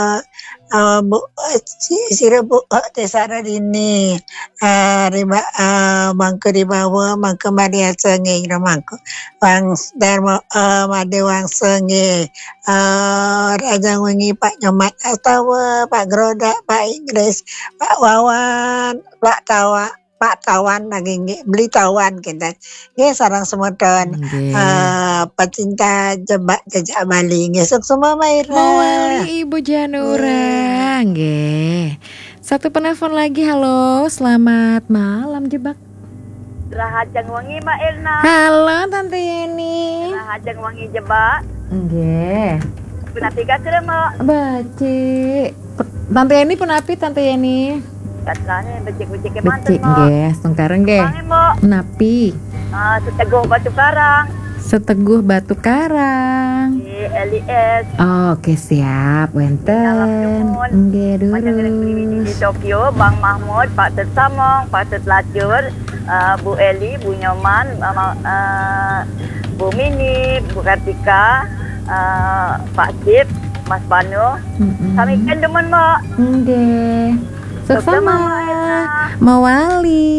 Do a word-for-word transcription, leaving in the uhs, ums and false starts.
eh, eh, bu, eh, si, sira bu, eh, tesara dini, eh, riba, eh, mangka dibawa, mangka madiasa nggih, mangka Wang Darma, eh, Made Wangsa nggih, eh, Raja Wengi, Pak Nyomat Astawa, Pak Grodak, Pak Inggris, Pak Wawan, Pak Tawa, Pak Tawan lagi nggih, beli Tawan kita. Nggih, sareng semeton, Nggih. eh, pecinta jebak jejak Bali nggih, suksma Maira. Mawali Ibu Janura, nggih. Satu penelpon lagi, halo, selamat malam Jebak. Rahajeng wengi Mbak Elna. Halo Tante Yeni. Rahajeng wengi Jebak. Nggih. Punapi kasira Mbak? Becik. Tante Yeni punapi Tante Yeni? Katrane becik-becik Becik manten Mbak. Nggih, sengkareng nggih. Manggih Mbak. Napi? Ah, Seteguh Batu Karang. Seteguh Batu Karang. Di L I S. Oke, siap, wenten. Salam nuhun. Nggih, Panjenengan beli di durus. Tokyo, Bang Mahmud, Pak Tut Samong, Pak Tut Lacur, eh, Bu Eli, Bu Nyoman, eh, eh, Bu Mini, Bu Kartika, eh, Pak Sip, Mas Panu. Mm-mm. Sami kan demen Mbak. Nggih. Suksma. Suksma, Mbak Elna. Mawali.